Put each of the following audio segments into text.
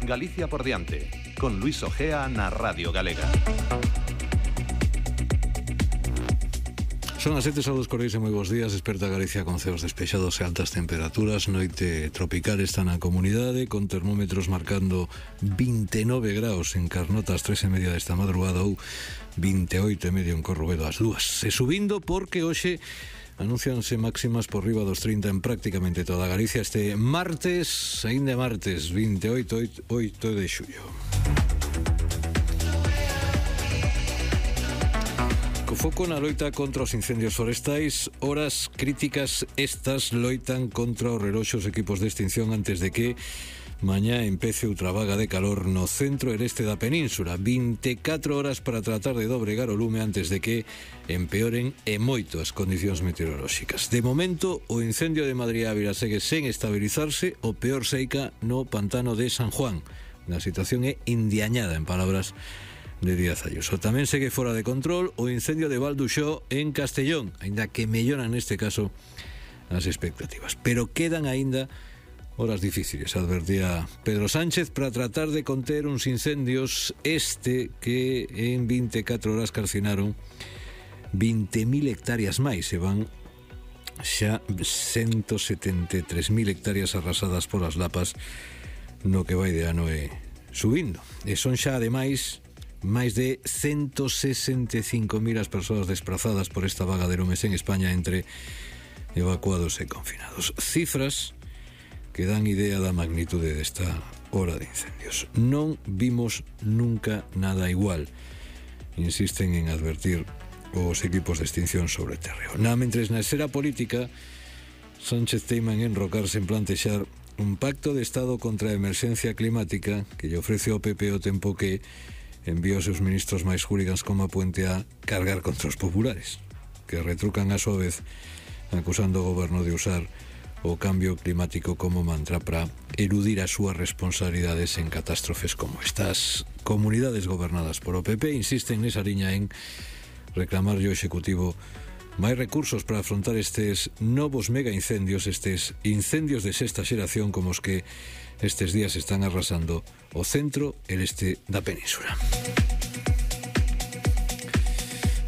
Galicia por diante, con Luis Ojea na Radio Galega. Son as 7, saúdos cordiais e moi bons días. Desperta Galicia con ceos despexados e altas temperaturas. Noite tropical está na comunidade, con termómetros marcando 29 graus en Carnota ás 3:30 desta madrugada ou 28,5 en Corrubedo ás 2. E subindo porque hoxe anuncianse máximas por riba dos 30 en prácticamente toda Galicia este martes, aínda martes 28 de xullo. Co foco na loita contra os incendios forestais, horas críticas estas loitan contra os reloxos equipos de extinción antes de que mañá empece outra vaga de calor no centro e este da península. 24 horas para tratar de dobregar o lume antes de que empeoren e moito as condicións meteorolóxicas. De momento, o incendio de Madrid Ávila segue sen estabilizarse, o peor seica no pantano de San Juan. A situación é indiañada, en palabras de Díaz Ayuso. Tamén segue fora de control o incendio de Valduxó en Castellón, aínda que melloran neste caso as expectativas. Pero quedan aínda horas difíciles, advertía Pedro Sánchez, para tratar de conter uns incendios que en 24 horas calcinaron 20.000 hectáreas máis, e van xa 173.000 hectáreas arrasadas polas lapas no que vai de ano e subindo. E son xa ademais máis de 165.000 as persoas desprazadas por esta vaga de lumes en España entre evacuados e confinados. Cifras que dan idea da magnitude desta hora de incendios. Non vimos nunca nada igual, insisten en advertir os equipos de extinción sobre terreo. Mentres na esfera política, Sánchez teima en enrocarse en plantexar un pacto de Estado contra a emerxencia climática que lle ofrece ao PP o tempo que envía os seus ministros máis hooligans como a Puente a cargar contra os populares, que retrucan a súa vez acusando o goberno de usar o cambio climático como mantra para eludir as súas responsabilidades en catástrofes como estas. Comunidades gobernadas por o PP insisten nesa liña en reclamar ao Executivo máis recursos para afrontar estes novos mega incendios, estes incendios de sexta xeración como os que estes días están arrasando o centro e este da península.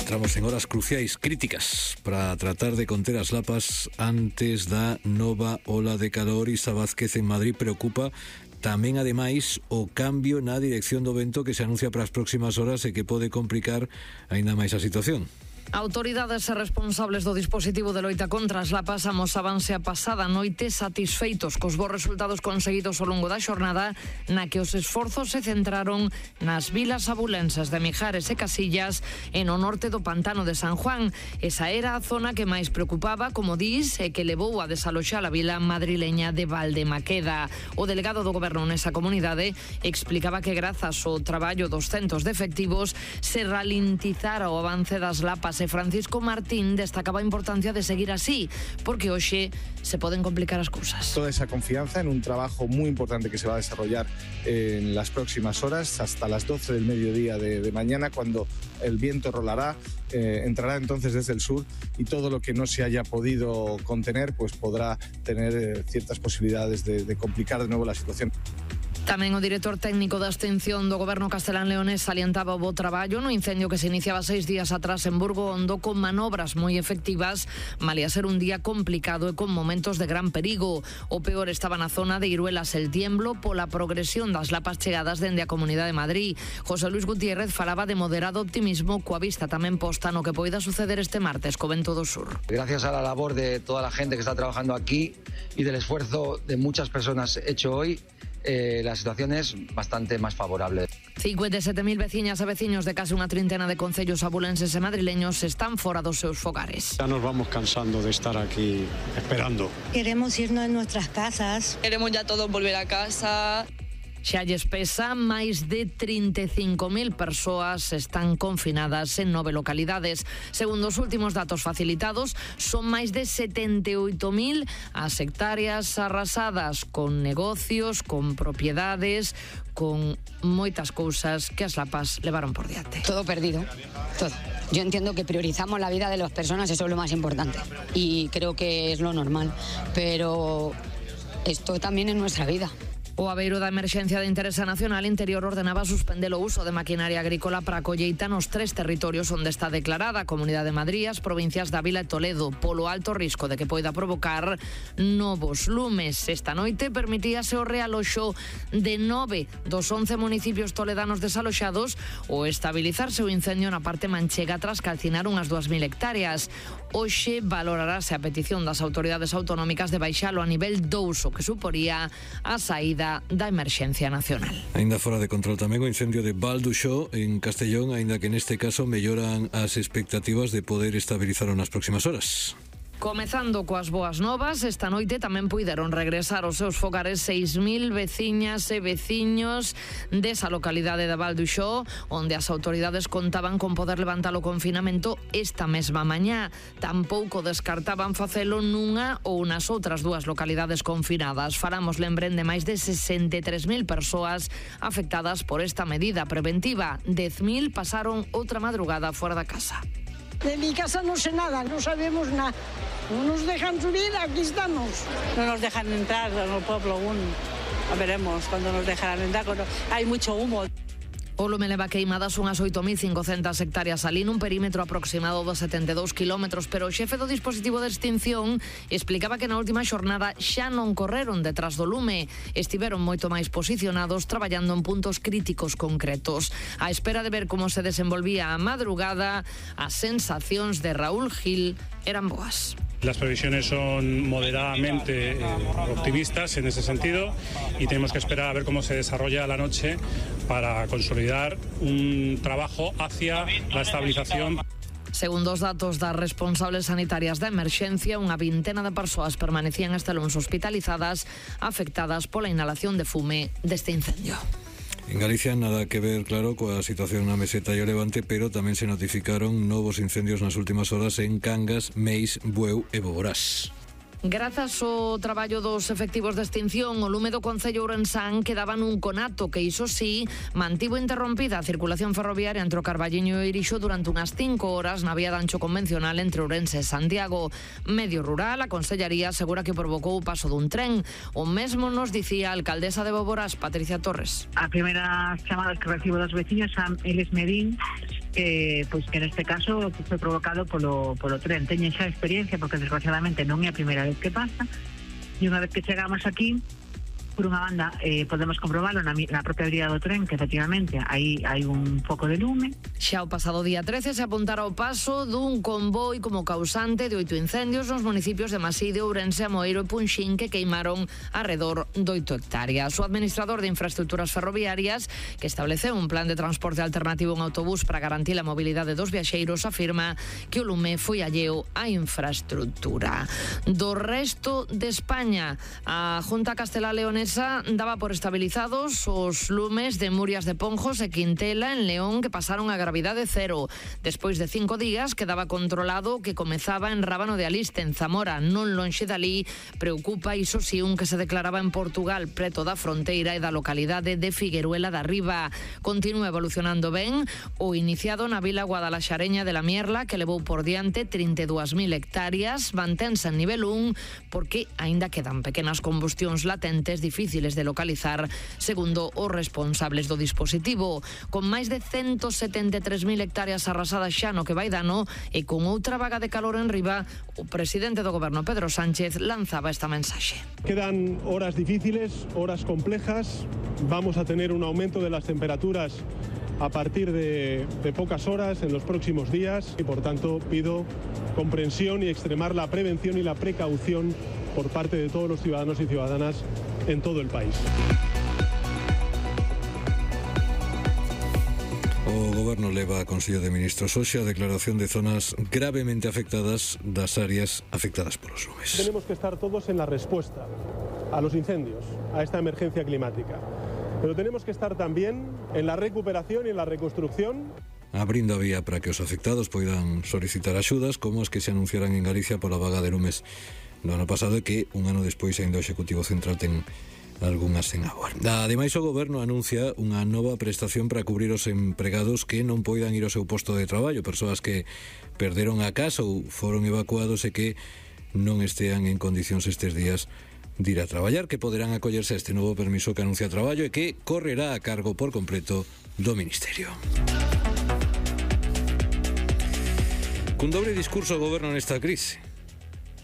Entramos en horas cruciais, críticas, para tratar de conter as lapas antes da nova ola de calor. Isa Vázquez en Madrid preocupa tamén, ademais, o cambio na dirección do vento que se anuncia para as próximas horas e que pode complicar aínda máis a situación. Autoridades e responsables do dispositivo de loita contra as lapas amosábanse a pasada noite satisfeitos cos bons resultados conseguidos ao longo da xornada, na que os esforzos se centraron nas vilas abulenses de Mijares e Casillas e no norte do pantano de San Juan. Esa era a zona que máis preocupaba, como dis, e que levou a desaloxar a vila madrileña de Valdemaqueda. O delegado do goberno nesa comunidade explicaba que grazas ao traballo dos centos de efectivos se ralentizara o avance das lapas. Francisco Martín destacaba a importancia de seguir así, porque hoxe se poden complicar as cousas. Toda esa confianza en un trabajo muy importante que se va a desarrollar en las próximas horas, hasta las 12 del mediodía de mañana, cuando el viento rolará, entrará entonces desde el sur y todo lo que no se haya podido contener pues podrá tener ciertas posibilidades de complicar de nuevo la situación. Tamén o director técnico da extinción do goberno castelán-leonés salientaba o bo traballo no incendio que se iniciaba 6 días atrás en Burgo Hondo, con manobras moi efectivas, malia ser un día complicado e con momentos de gran perigo. O peor estaba na zona de Iruelas El Tiemblo pola progresión das lapas chegadas dende a Comunidade de Madrid. José Luis Gutiérrez falaba de moderado optimismo coa vista tamén posta no que poida suceder este martes co vento do sur. Gracias a la labor de toda la gente que está trabajando aquí y del esfuerzo de muchas personas hecho hoy, la situación es bastante más favorable. 57.000 veciñas e veciños de case unha trintena de concellos abulenses e madrileños están fora dos seus fogares. Ya nos vamos cansando de estar aquí esperando. Queremos irnos a nuestras casas. Queremos ya todos volver a casa. Xa lles pesa, máis de 35.000 persoas están confinadas en 9 localidades. Segundo os últimos datos facilitados, son máis de 78.000 as hectáreas arrasadas, con negocios, con propiedades, con moitas cousas que as lapas levaron por diante. Todo perdido, todo. Yo entiendo que priorizamos la vida de las personas, eso es lo más importante. Y creo que es lo normal, pero esto también es nuestra vida. O Aveiro da Emerxencia de Interese Nacional Interior ordenaba suspender o uso de maquinaria agrícola para a colleita nos 3 territorios onde está declarada a Comunidade de Madrid, as provincias de Ávila e Toledo, polo alto risco de que poida provocar novos lumes. Esta noite permitíase o realoxo de 9 dos 11 municipios toledanos desaloxados ou estabilizarse o incendio na parte manchega tras calcinar unhas 2.000 hectáreas. Hoxe valorarase a petición das autoridades autonómicas de baixalo a nivel 2, o que suporía a saída da emerxencia nacional. Ainda fora de control tamén o incendio de Val d'Uixó en Castellón, aínda que neste caso melloran as expectativas de poder estabilizar nas próximas horas. Comezando coas boas novas, esta noite tamén puideron regresar aos seus fogares 6.000 veciñas e veciños desa localidade de Val d'Uixó, onde as autoridades contaban con poder levantar o confinamento esta mesma mañá. Tampouco descartaban facelo nunha ou nas outras 2 localidades confinadas. Faramos lembren de máis de 63.000 persoas afectadas por esta medida preventiva. 10.000 pasaron outra madrugada fora da casa. De mi casa no sé nada, no sabemos nada. No nos dejan subir, aquí estamos. No nos dejan entrar en el pueblo aún. Veremos cuando nos dejarán entrar. Hay mucho humo. O lume leva queimadas unhas 8.500 hectáreas alí nun perímetro aproximado dos 72 kilómetros, pero o xefe do dispositivo de extinción explicaba que na última xornada xa non correron detrás do lume, estiveron moito máis posicionados traballando en puntos críticos concretos. A espera de ver como se desenvolvía a madrugada, as sensacións de Raúl Gil eran boas. Las previsiones son moderadamente optimistas en ese sentido y tenemos que esperar a ver cómo se desarrolla la noche para consolidar un trabajo hacia la estabilización. Segundo os datos das responsables sanitarias da emerxencia, unha vintena de persoas permanecían este luns hospitalizadas afectadas pola inhalación de fume deste incendio. En Galicia nada que ver, claro, coa situación na meseta e o Levante, pero tamén se notificaron novos incendios nas últimas horas en Cangas, Meis, Bueu e Boborás. Grazas ao traballo dos efectivos de extinción, o lume do Concello Ourensán quedaba nun conato que, iso sí, mantivo interrompida a circulación ferroviaria entre o Carballiño e Irixo durante unhas 5 horas na vía de ancho convencional entre Ourense e Santiago. Medio rural, a Consellería asegura que provocou o paso dun tren. O mesmo nos dicía a alcaldesa de Boborás, Patricia Torres. A primeira chamada que recibo das veciños a eles me din que neste caso foi provocado polo tren. Teñen xa experiencia porque desgraciadamente non é a primeira vez que pasa, e unha vez que chegamos aquí, por unha banda podemos comprobalo na propia vía do tren, que efectivamente aí hai un foco de lume. Xa o pasado día 13 se apuntara o paso dun convoi como causante de 8 incendios nos municipios de Maside, Ourense, Amoeiro e Punxín, que queimaron arredor de 8 hectáreas. O administrador de infraestructuras ferroviarias, que estableceu un plan de transporte alternativo en autobús para garantir a mobilidade dos viaxeiros, afirma que o lume foi alleo á infraestructura. Do resto de España, a Junta Castelá Leonesa daba por estabilizados os lumes de Murias de Ponjos e Quintela en León, que pasaron a gravidade cero. Despois de 5 días quedaba controlado que comezaba en Rábano de Aliste, en Zamora, non lonxe dali. Preocupa, iso si, un que se declaraba en Portugal, preto da fronteira e da localidade de Figueruela da Riba. Continúa evolucionando ben o iniciado na vila guadalaxareña de la Mierla, que levou por diante 32.000 hectáreas, mantense en nivel 1 porque aínda quedan pequenas combustións latentes difíciles de localizar, segundo os responsables do dispositivo. Con máis de 173.000 hectáreas arrasadas xa no que vai dano e con outra vaga de calor en riba, o presidente do goberno, Pedro Sánchez, lanzaba esta mensaxe. Quedan horas difíciles, horas complejas. Vamos a tener un aumento de las temperaturas a partir de pocas horas en los próximos días y, por tanto, pido comprensión y extremar la prevención y la precaución por parte de todos los ciudadanos y ciudadanas en todo el país. O Goberno leva a Consello de Ministros hoxe a declaración de zonas gravemente afectadas das áreas afectadas polos lumes. Tenemos que estar todos en la respuesta a los incendios, a esta emergencia climática. Pero tenemos que estar también en la recuperación y en la reconstrucción. Abrindo a vía para que os afectados poidan solicitar axudas, como as que se anunciaran en Galicia pola vaga de lumes no ano pasado, e que un ano despois ainda o Executivo Central ten algunhas sen agua. Ademais, o Goberno anuncia unha nova prestación para cubrir os empregados que non poidan ir ao seu posto de traballo, persoas que perderon a casa ou foron evacuados e que non estean en condicións estes días de ir a traballar, que poderán acollerse a este novo permiso que anuncia traballo e que correrá a cargo por completo do Ministerio. Cun dobre discurso o goberno nesta crise.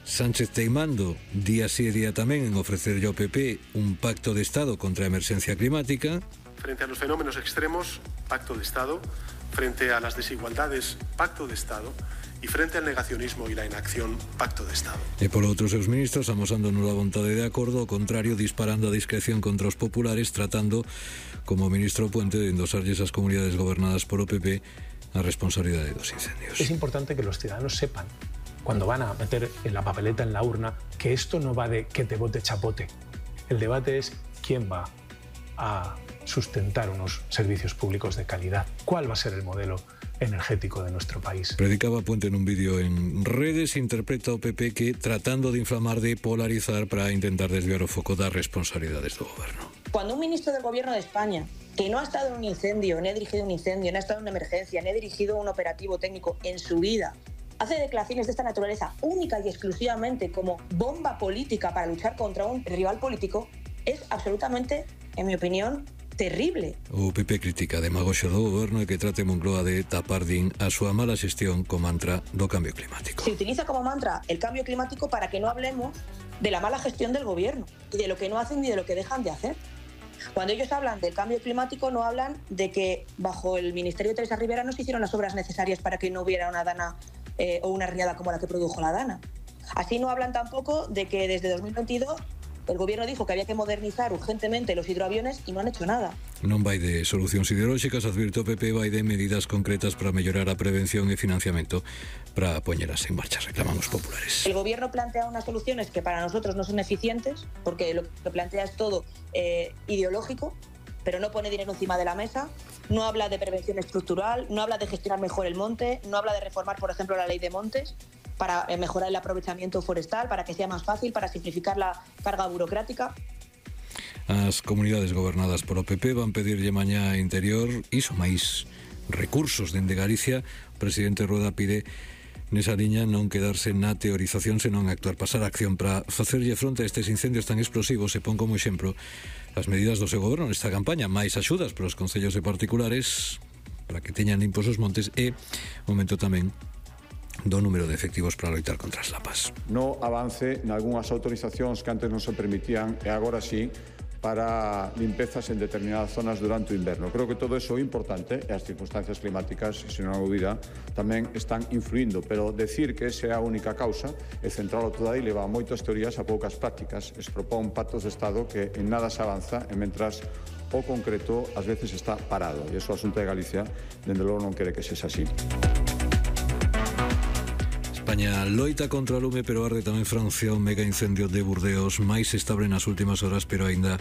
Sánchez teimando día sí e día tamén en ofrecerlle ao PP un pacto de Estado contra a emerxencia climática. Frente a los fenómenos extremos, pacto de Estado. Frente a las desigualdades, pacto de Estado. Y frente al negacionismo y la inacción, pacto de Estado. E polo outro seus ministros amosando nula vontade de acordo, ao contrario, disparando a discreción contra os populares, tratando, como ministro Puente, de endosarlles as comunidades gobernadas por o PP a responsabilidade dos incendios. Es importante que los ciudadanos sepan, cuando van a meter en la papeleta en la urna, que esto no va de que te vote chapote. El debate es quién va a sustentar unos servicios públicos de calidad. ¿Cuál va a ser el modelo energético de nuestro país? Predicaba Puente en un vídeo en redes, interpreta o PP que tratando de inflamar, de polarizar para intentar desviar o foco das responsabilidades do goberno. Cuando un ministro del gobierno de España, que no ha estado en un incendio, no ha dirigido un incendio, no ha estado en una emergencia, no ha dirigido un operativo técnico en su vida, hace declaraciones de esta naturaleza única y exclusivamente como bomba política para luchar contra un rival político, es absolutamente, en mi opinión, terrible. O PP critica a demagoxia do goberno e que trate Moncloa de tapar a súa mala xestión co mantra do cambio climático. Se utiliza como mantra el cambio climático para que no hablemos de la mala gestión del gobierno y de lo que no hacen ni de lo que dejan de hacer. Cuando ellos hablan del cambio climático no hablan de que bajo el Ministerio de Teresa Rivera no se hicieron las obras necesarias para que no hubiera una dana o una riada como la que produjo la dana. Así no hablan tampoco de que desde 2022 el gobierno dijo que había que modernizar urgentemente los hidroaviones y no han hecho nada. Non vai de solucións ideolóxicas, advirte o PP, vai de medidas concretas para mellorar a prevención e financiamento para poñeras en marcha, reclaman os populares. El gobierno plantea unas soluciones que para nosotros no son eficientes, porque lo que plantea es todo ideológico, pero no pone dinero encima de la mesa, no habla de prevención estructural, no habla de gestionar mejor el monte, no habla de reformar, por ejemplo, la ley de montes, para mejorar el aprovechamiento forestal, para que sea más fácil, para simplificar la carga burocrática. As comunidades gobernadas por o PP van pedirlle mañá a Interior iso máis recursos dende Galicia. O presidente Rueda pide nesa liña non quedarse na teorización, senón actuar, pasar a acción para facerlle fronte a estes incendios tan explosivos. E pon como exemplo as medidas do seu goberno nesta campaña, máis axudas para os concellos e particulares para que teñan limpos os montes e momento tamén do número de efectivos para loitar contra as lapas. No avance nalgúnas autorizacións que antes non se permitían e agora sí para limpezas en determinadas zonas durante o inverno. Creo que todo eso é importante e as circunstancias climáticas, se non hai dúbida, tamén están influindo, pero decir que esa é a única causa e centralo toda aí leva moitas teorías a poucas prácticas. Es propón pactos de Estado que en nada se avanza e mentras o concreto ás veces está parado. E iso a Xunta de Galicia, dende logo, non quere que sexa así. España loita contra o lume, pero arde tamén Francia, o mega incendio de Burdeos, máis estable nas últimas horas, pero aínda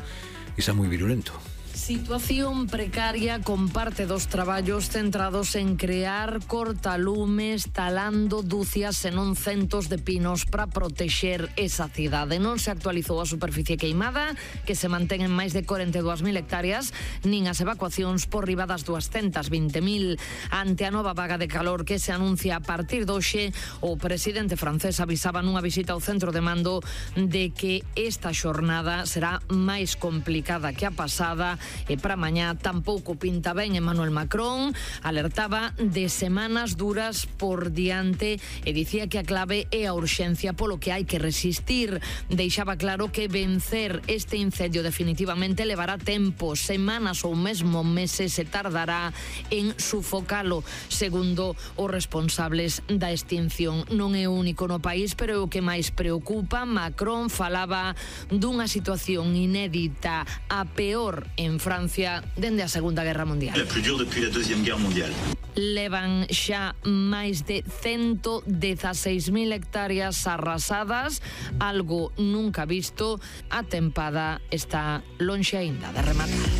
está moi virulento. Situación precaria con parte dos traballos centrados en crear cortalumes, talando dúcias e non centos de pinos para protexer esa cidade. Non se actualizou a superficie queimada, que se mantén en máis de 42.000 hectáreas, nin as evacuacións por riba das 220.000. Ante a nova vaga de calor que se anuncia a partir de hoxe, o presidente francés avisaba nunha visita ao centro de mando de que esta xornada será máis complicada que a pasada. E para mañá tampouco pinta ben. Emmanuel Macron alertaba de semanas duras por diante e dicía que a clave é a urxencia polo que hai que resistir. Deixaba claro que vencer este incendio definitivamente levará tempo, semanas ou mesmo meses se tardará en sufocalo, segundo os responsables da extinción. Non é único no país, pero é o que máis preocupa. Macron falaba dunha situación inédita, a peor en Francia dende a Segunda Guerra Mundial. La plus dure depuis la Deuxième Guerre mondiale. Levan xa máis de 116.000 hectáreas arrasadas, algo nunca visto. A tempada está lonxe aínda de rematar.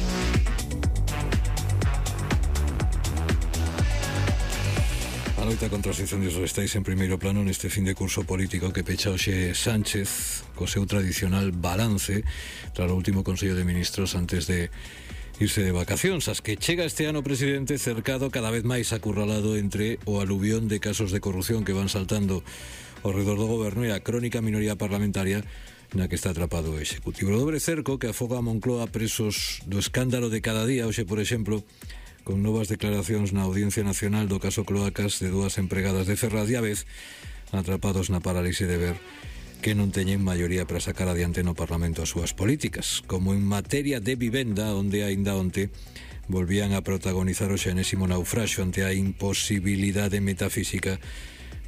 A loita contra os incendios forestais en primeiro plano neste fin de curso político que pecha hoxe Sánchez co seu tradicional balance tras o último Consello de Ministros antes de irse de vacacións, as que chega este ano o presidente cercado cada vez máis acurralado entre o aluvión de casos de corrupción que van saltando ao redor do goberno e a crónica minoría parlamentaria na que está atrapado o Executivo. O dobre cerco que afoga a Moncloa presos do escándalo de cada día, hoxe, por exemplo, con novas declaracións na Audiencia Nacional do caso Cloacas de 2 empregadas de Ferraz e a vez atrapados na parálise de ver que non teñen maioría para sacar adiante no Parlamento as súas políticas, como en materia de vivenda, onde aínda onte volvían a protagonizar o xenésimo naufraxo ante a imposibilidade metafísica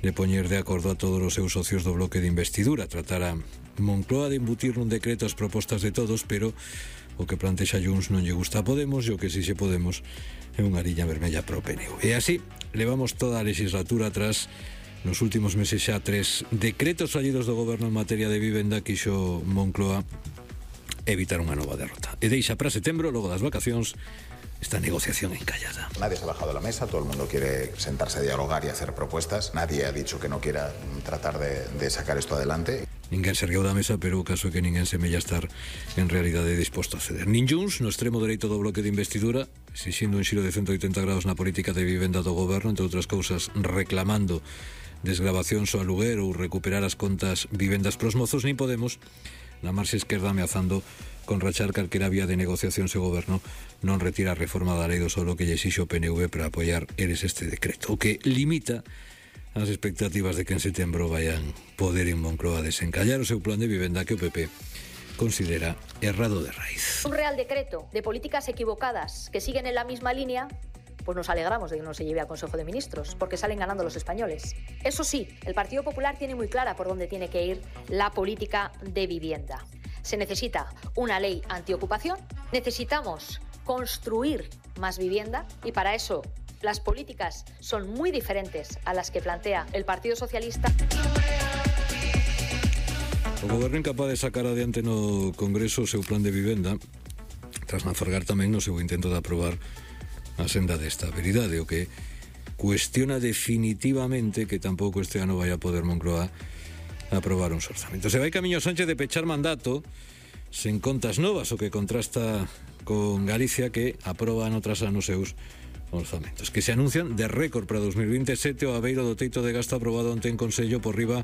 de poñer de acordo a todos os seus socios do bloque de investidura. Tratara Moncloa de embutir nun decreto as propostas de todos, pero o que plantexa Junts non lle gusta a Podemos e o que si se Podemos é unha liña vermella pro PNV. E así levamos toda a legislatura atrás. Nos últimos meses xa 3 decretos fallidos do goberno en materia de vivenda quixo Moncloa evitar unha nova derrota. E deixa para setembro, logo das vacacións, esta negociación encallada. Nadie se ha bajado de la mesa, todo el mundo quiere sentarse a dialogar y hacer propuestas. Nadie ha dicho que no quiera tratar de sacar esto adelante. Ninguén se ergueu da mesa, pero o caso é que ninguén semella estar en realidade disposto a ceder. Nin Junts, no extremo dereito do bloque de investidura, exixindo un xiro de 180 grados na política de vivenda do goberno, entre outras cousas reclamando desgravacións ao aluguer ou recuperar as contas vivendas pros mozos, nin Podemos, na marxa esquerda ameazando con rachar calquera vía de negociación se o goberno non retira a reforma da lei do solo que lle exixe o PNV para apoiar eles este decreto, o que limita as expectativas de que en setembro vayan poder en Moncloa desencallar o seu plan de vivenda que o PP considera errado de raíz. Un real decreto de políticas equivocadas que siguen en la misma línea, pues nos alegramos de que no se lleve al Consejo de Ministros, porque salen ganando los españoles. Eso sí, el Partido Popular tiene muy clara por dónde tiene que ir la política de vivienda. Se necesita una ley antiocupación, necesitamos construir más vivienda y para eso las políticas son muy diferentes a las que plantea el Partido Socialista. O goberno incapaz de sacar adiante no Congreso o seu plan de vivenda, tras naufragar tamén no seu intento de aprobar a senda de estabilidade, o que cuestiona definitivamente que tampouco este ano vai a poder Moncloa aprobar uns orzamentos. Se vai camiño Sánchez de pechar mandato sen contas novas, o que contrasta con Galicia, que aproba ano tras ano seus orzamentos, que se anuncian de récord para 2027 o abeiro do teito de gasto aprobado onte en Consello por riba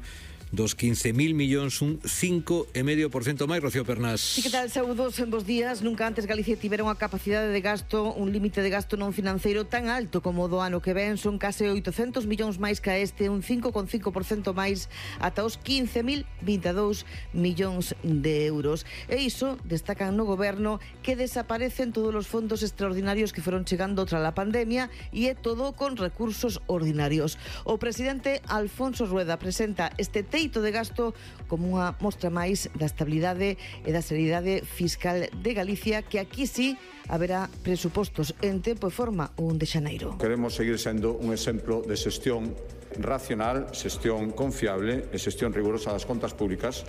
dos 15.000 millóns, un 5,5% máis. Rocío Pernás. Sí, que tal, saúdos en vos días. Nunca antes Galicia tivera unha capacidade de gasto, un límite de gasto non financeiro tan alto como o do ano que ven. Son case 800 millóns máis que este, un 5,5% máis, ata os 15.022 millóns de euros. E iso destacan no goberno que desaparecen todos os fondos extraordinarios que foron chegando tras a pandemia e é todo con recursos ordinarios. O presidente Alfonso Rueda presenta este teito de gasto como unha mostra máis da estabilidade e da seriedade fiscal de Galicia, que aquí sí haberá presupostos en tempo e forma o 1 de xaneiro. Queremos seguir sendo un exemplo de xestión racional, xestión confiable e xestión rigurosa das contas públicas.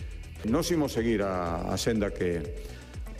Nos imos seguir a senda que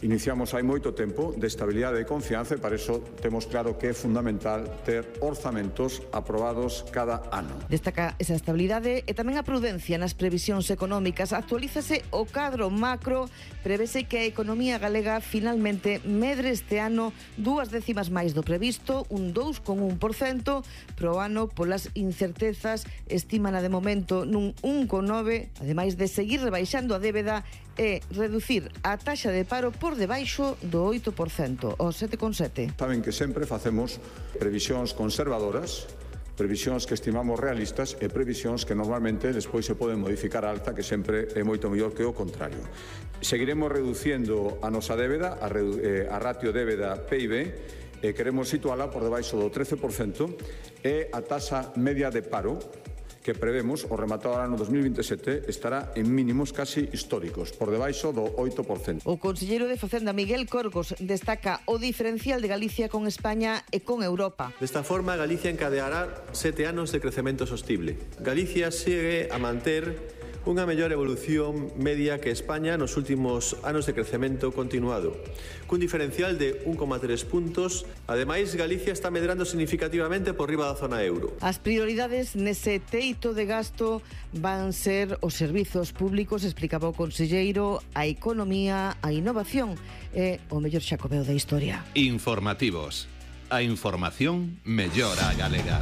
iniciamos hai moito tempo de estabilidade e confianza, e para iso temos claro que é fundamental ter orzamentos aprobados cada ano. Destaca esa estabilidade e tamén a prudencia nas previsións económicas. Actualízase o cadro macro, prevese que a economía galega finalmente medre este ano 2 décimas máis do previsto, un 2,1%, pro ano polas incertezas estímana de momento nun 1,9%, ademais de seguir rebaixando a débeda e reducir a taxa de paro por debaixo do 8%, o 7,7%. Saben que sempre facemos previsións conservadoras, previsións que estimamos realistas e previsións que normalmente despois se poden modificar a alta, que sempre é moito mellor que o contrario. Seguiremos reducindo a nosa débeda, a ratio débeda PIB, e queremos situala por debaixo do 13%, e a taxa media de paro que prevemos o rematado ano 2027 estará en mínimos casi históricos, por debaixo do 8%. O conselleiro de Facenda, Miguel Corgos, destaca o diferencial de Galicia con España e con Europa. Desta forma, Galicia encadeará 7 anos de crecemento sostible. Galicia segue a manter unha mellor evolución media que España nos últimos anos de crecemento continuado, cun diferencial de 1,3 puntos. Ademais, Galicia está medrando significativamente por riba da zona euro. As prioridades nese teito de gasto van ser os servizos públicos, explicaba o conselleiro, a economía, a innovación e o mellor xacobeo da historia. Informativos. A información mellora a galega.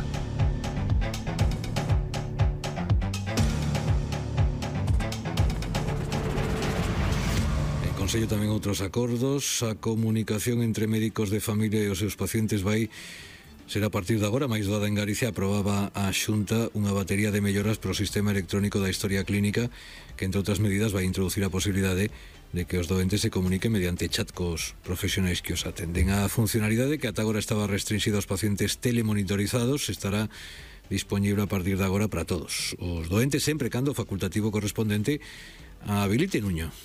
Consello tamén outros acordos. A comunicación entre médicos de familia e os seus pacientes será a partir de agora máis doada en Galicia. Aprobaba a Xunta unha batería de melloras para o sistema electrónico da historia clínica que, entre outras medidas, vai introducir a posibilidade de que os doentes se comuniquen mediante chat cos profesionais que os atenden. A funcionalidade que ata agora estaba restringida aos pacientes telemonitorizados estará dispoñible a partir de agora para todos os doentes, sempre cando o facultativo correspondente a habilite Nuño.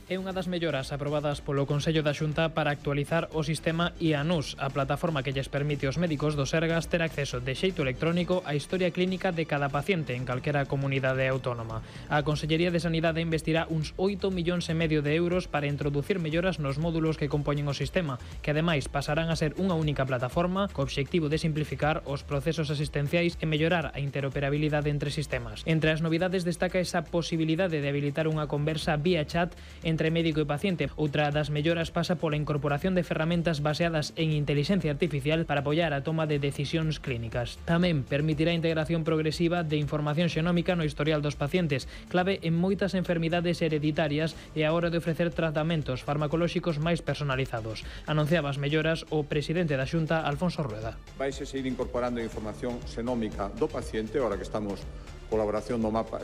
É unha das melloras aprobadas polo Consello da Xunta para actualizar o sistema IANUS, a plataforma que lles permite aos médicos do Sergas ter acceso de xeito electrónico á historia clínica de cada paciente en calquera comunidade autónoma. A Consellería de Sanidade investirá uns 8,5 millóns de euros para introducir melloras nos módulos que compoñen o sistema, que ademais pasarán a ser unha única plataforma co obxectivo de simplificar os procesos asistenciais e mellorar a interoperabilidade entre sistemas. Entre as novidades destaca esa posibilidade de habilitar unha conversa vía chat entre médico e paciente. Outra das melloras pasa pola incorporación de ferramentas baseadas en inteligencia artificial para apoiar a toma de decisións clínicas. Tamén permitirá a integración progresiva de información xenómica no historial dos pacientes, clave en moitas enfermidades hereditarias e a hora de ofrecer tratamentos farmacolóxicos máis personalizados. Anunciaba as melloras o presidente da Xunta, Alfonso Rueda. Vaise seguir incorporando información xenómica do paciente, ahora que estamos colaboración do mapa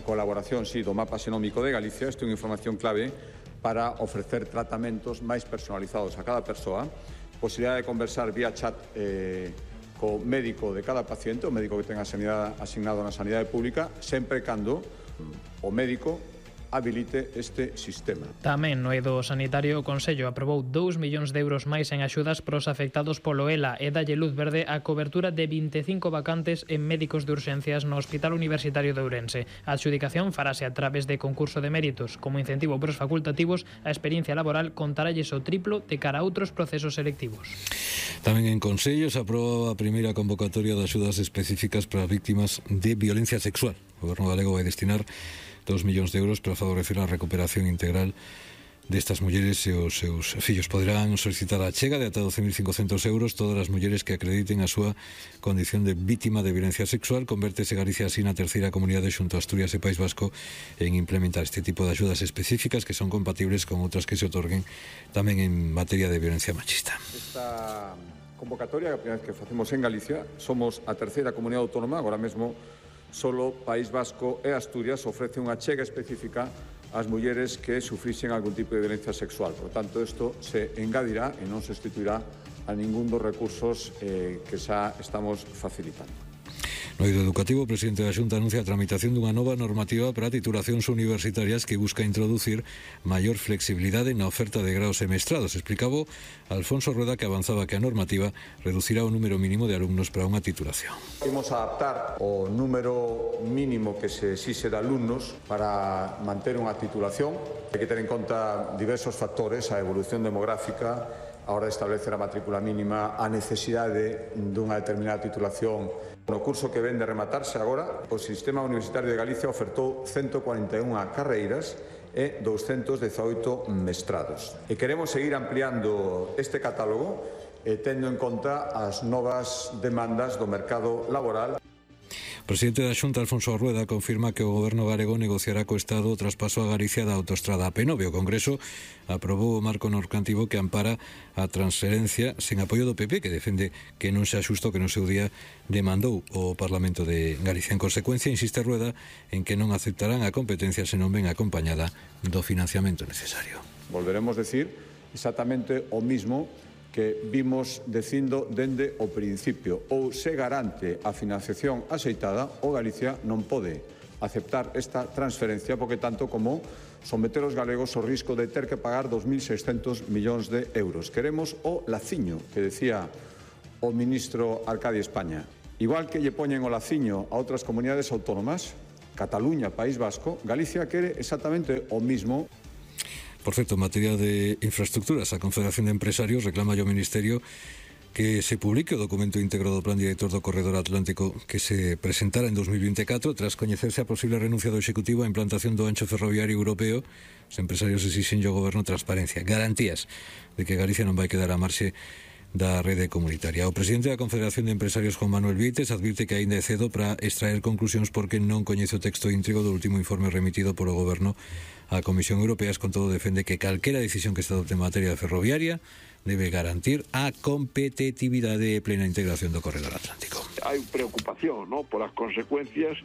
xenómico de Galicia. Isto é unha información clave para ofrecer tratamentos máis personalizados a cada persoa, posibilidade de conversar vía chat co médico de cada paciente, o médico que tenga asignado na sanidade pública, sempre cando o médico habilite este sistema. Tamén no eido sanitario o Consello aprobou 2 millóns de euros máis en axudas pros afectados polo ELA e dalle luz verde a cobertura de 25 vacantes en médicos de urxencias no Hospital Universitario de Ourense. A adxudicación farase a través de concurso de méritos. Como incentivo pros facultativos, a experiencia laboral contaralles o triplo de cara a outros procesos selectivos. Tamén en Consello se aproba a primeira convocatoria de axudas específicas para víctimas de violencia sexual. O Goberno galego vai destinar 2 millóns de euros para favorecer a recuperación integral destas mulleres e os seus fillos. Poderán solicitar a chega de ata 12.500 euros todas as mulleres que acrediten a súa condición de vítima de violencia sexual. Convértese Galicia así na terceira comunidade xunto a Asturias e País Vasco en implementar este tipo de axudas específicas que son compatibles con outras que se otorguen tamén en materia de violencia machista. Esta convocatoria, a primeira vez que facemos en Galicia, somos a terceira comunidade autónoma, agora mesmo solo País Vasco e Asturias ofrece unha chega específica ás mulleres que sufrixen algún tipo de violencia sexual. Por tanto, isto se engadirá e non se sustituirá a ningún dos recursos que xa estamos facilitando. No eido educativo, o presidente da Xunta anuncia a tramitación dunha nova normativa para titulacións universitarias que busca introducir maior flexibilidade na oferta de graos e mestrados. Explicaba Alfonso Rueda que avanzaba que a normativa reducirá o número mínimo de alumnos para unha titulación. Imos a adaptar o número mínimo que se exixe de alumnos para manter unha titulación. Hai que ter en conta diversos factores, a evolución demográfica, a hora de establecer a matrícula mínima, a necesidade dunha determinada titulación. No curso que ven de rematarse agora, o Sistema Universitario de Galicia ofertou 141 carreiras e 218 mestrados. E queremos seguir ampliando este catálogo tendo en conta as novas demandas do mercado laboral. O presidente da Xunta, Alfonso Rueda, confirma que o Goberno galego negociará co Estado o traspaso a Galicia da autoestrada AP9. O Congreso aprobou o marco normativo que ampara a transferencia sen apoio do PP, que defende que non sea xusto que no seu día demandou o Parlamento de Galicia. En consecuencia, insiste Rueda en que non aceptarán a competencia se non ven acompañada do financiamento necesario. Volveremos decir exactamente o mismo que vimos dicindo dende o principio. Ou se garante a financiación axeitada, o Galicia non pode aceptar esta transferencia porque tanto como someter os galegos ao risco de ter que pagar 2.600 millóns de euros. Queremos o laciño que decía o ministro Arcadi España. Igual que lle poñen o laciño a outras comunidades autónomas, Cataluña, País Vasco, Galicia quere exactamente o mismo. Por certo, en materia de infraestructuras, a Confederación de Empresarios reclama ao Ministerio que se publique o documento íntegro do Plan Director do Corredor Atlántico que se presentara en 2024 tras coñecerse a posible renuncia do Executivo á implantación do ancho ferroviario europeo. Os empresarios exixen ao Goberno transparencia, garantías de que Galicia non vai quedar a marxe da rede comunitaria. O presidente da Confederación de Empresarios, Juan Manuel Vieites, advirte que aínda é cedo para extraer conclusións porque non coñece o texto íntegro do último informe remitido polo Goberno á Comisión Europea. Con todo, defende que calquera decisión que se adopte en materia ferroviaria debe garantir a competitividade e plena integración do corredor atlántico. Hai preocupación, ¿no?, por as consecuencias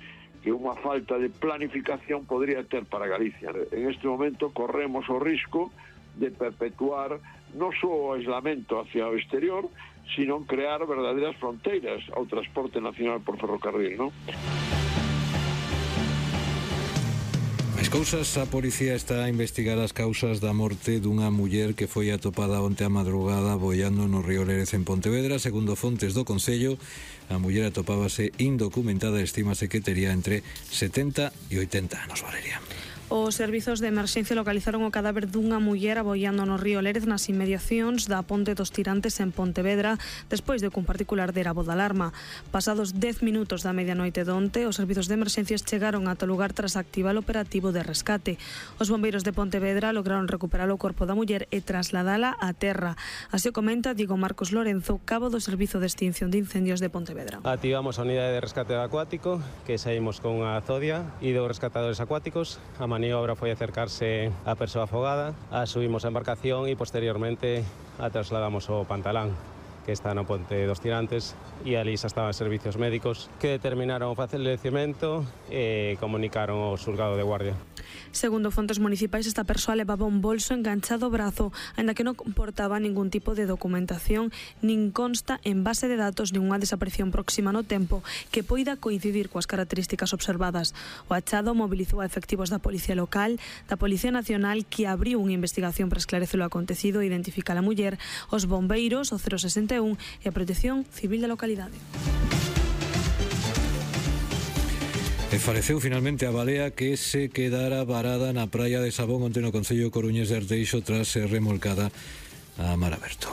que unha falta de planificación podría ter para Galicia. En este momento corremos o risco de perpetuar non só o aislamento hacia o exterior, sino crear verdadeiras fronteiras ao transporte nacional por ferrocarril, non? As cousas, a policía está a investigar as causas da morte dunha muller que foi atopada onte a madrugada boiando no río Lérez en Pontevedra. Segundo fontes do Concello, a muller atopábase indocumentada e estímase que tería entre 70 e 80 anos. Valeria. Os servizos de emerxencia localizaron o cadáver dunha muller aboiando no río Lérez nas inmediacións da Ponte dos Tirantes en Pontevedra despois de que un particular dera voz de alarma. Pasados 10 minutos da medianoite donte, os servizos de emerxencias chegaron ata o lugar tras activar o operativo de rescate. Os bombeiros de Pontevedra lograron recuperar o corpo da muller e trasladala á terra. Así o comenta Diego Marcos Lorenzo, cabo do Servizo de Extinción de Incendios de Pontevedra. Activamos a unidade de rescate acuático, que saímos con unha zodia e dos rescatadores acuáticos. A maniobra foi acercarse á persoa afogada, a subimos a embarcación e posteriormente a trasladamos ao Pantalán, que está no Ponte dos Tirantes, e ali xa estaban servicios médicos que determinaron o falecemento e comunicaron ao xulgado de guardia. Segundo fontes municipais, esta persoa levaba un bolso enganchado ao brazo, aínda que non comportaba ningún tipo de documentación, nin consta en base de datos ninguna desaparición próxima no tempo que poida coincidir coas características observadas. O achado mobilizou a efectivos da Policía Local, da Policía Nacional, que abriu unha investigación para esclarecer o acontecido e identificar a muller, os bombeiros, o 061 e a Protección Civil da localidade. E faleceu finalmente a balea que se quedara varada na praia de Sabón onte no concello coruñés de Arteixo tras ser remolcada a mar aberto.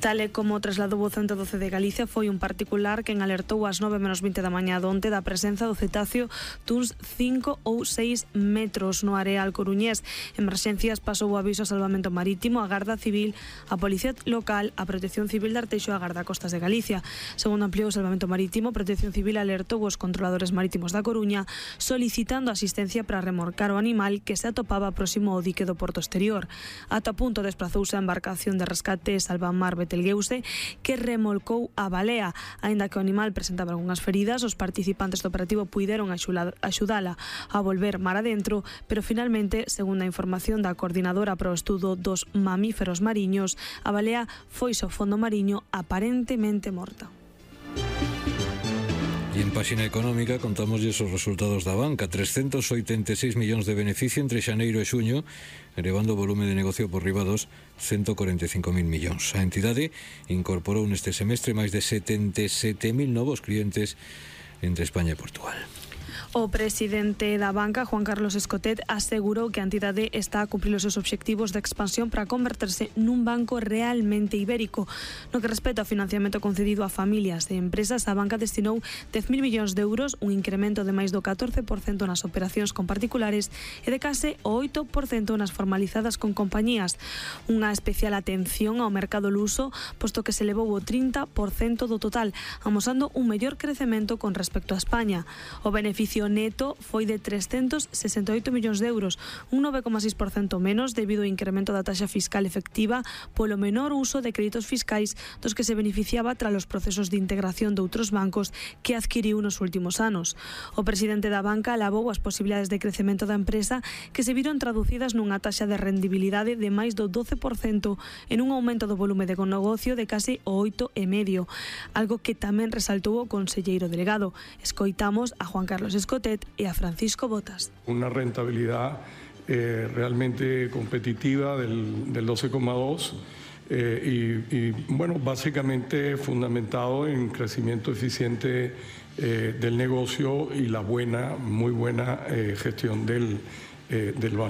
Tal e como trasladou o 112 de Galicia, foi un particular quen alertou ás 9:20 da mañá donte da presenza do cetáceo duns 5 ou 6 metros no areal coruñés. Emerxencias pasou o aviso a Salvamento Marítimo, a Garda Civil, a Policía Local, a Protección Civil de Arteixo e a Garda Costas de Galicia. Segundo ampliou o Salvamento Marítimo, Protección Civil alertou os controladores marítimos da Coruña solicitando asistencia para remorcar o animal que se atopaba próximo ao dique do Porto Exterior. Ata punto desprazouse a embarcación de rescate Salvamar Betelgeuse, que remolcou a balea. Aínda que o animal presentaba algunhas feridas, os participantes do operativo puideron axudala a volver mar adentro, pero finalmente, segundo a información da coordinadora para o estudo dos mamíferos mariños, a balea foise ao fondo mariño aparentemente morta. E en páxina económica contámosles os resultados da banca. 386 millóns de beneficio entre xaneiro e xuño, elevando o volume de negocio por riba dos 145.000 millóns. A entidade incorporou neste semestre máis de 77.000 novos clientes entre España e Portugal. O presidente da banca, Juan Carlos Escotet, asegurou que a entidade está a cumprir os seus obxectivos de expansión para converterse nun banco realmente ibérico. No que respecta ao financiamento concedido a familias e empresas, a banca destinou 10.000 millóns de euros, un incremento de máis do 14% nas operacións con particulares e de case o 8% nas formalizadas con compañías. Unha especial atención ao mercado luso, posto que se elevou o 30% do total, amosando un mellor crecemento con respecto a España. O beneficio neto foi de 368 millóns de euros, un 9,6% menos debido ao incremento da taxa fiscal efectiva polo menor uso de créditos fiscais dos que se beneficiaba tras os procesos de integración de outros bancos que adquiriu nos últimos anos. O presidente da banca alabou as posibilidades de crecemento da empresa que se viron traducidas nunha taxa de rendibilidade de máis do 12% en un aumento do volume de negocio de case o 8,5%, algo que tamén resaltou o conselleiro delegado. Escoitamos a Juan Carlos Escotet e a Francisco Botas. Una rentabilidad realmente competitiva del 12,2% y bueno, básicamente fundamentado en crecimiento eficiente del negocio y la muy buena gestión del balance.